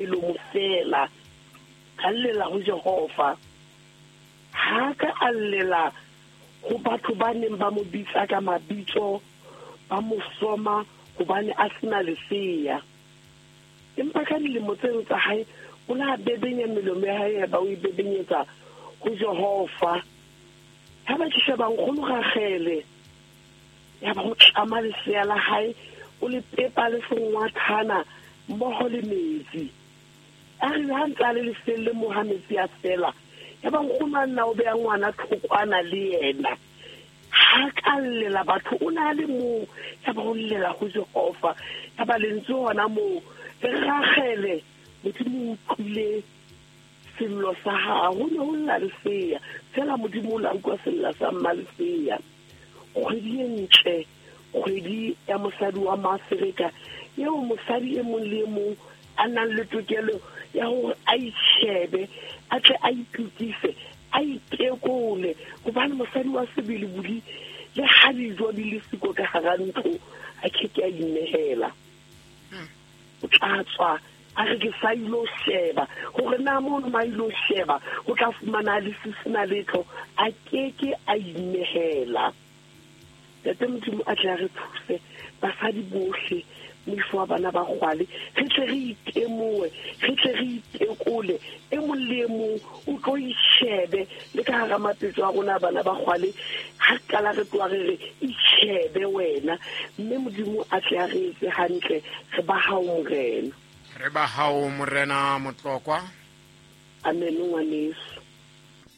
Melomo feela, a llela ho Jehova. Ha ka a llela ho batho ba neng ba mo bitsa ka mabitso, ba mo soma hobane a sena lesea. Empa ka dilemo tseno tsa hae, o la bebenya melomo ya hae, ba o e bebenyetsa ho Jehova. Ha ba ke sheba nkgono Ragele, ya ba o tlama lesea la hae, o le pepa le sengwathana mmoho le metsi. A re ha ntse a le lefeelleng moo ha metsi a fela, ya ba nkgono a nna o beha ngwana thokwana le yena. Ha ka llela batho, o ne a le mong, ya ba o llela ho Jehova. Ya ba lentswe hona moo, le Ragele, Modimo o utlwile sello sa hao. Ho ne ho lla lesea, fela Modimo o la utlwa sella sa mma lesea. Kgwedi e ntle, kgwedi ya mosadi wa Maaferika, eo mosadi e mong le e mong a nang le tokelo ya hore a itjhebe, a tle a itokise, a itekole, hobane mosadi wa sebele bodi le ha dijo di le siko ka hara ntlo, a ke ke a inehela. O tla tswa a re ke sa ilo sheba hore na mono ma ilo sheba o tla fumana le sesina letho, a ke ke a inehela. Ntate Modimo a tle a re thuse basadi bohle, moifo wa bana ba kgwale, re tle re itemoe, re tle re itekole, e mong le e mong o tlo itjhebe le ka hara mapetso a rona bana ba kgwale. Ha qala re tloha re re itjhebe wena, mme Modimo a tle a re etse hantle. Re ba hao Morena, re ba hao Morena Motlokwa. Amen ngwaneso.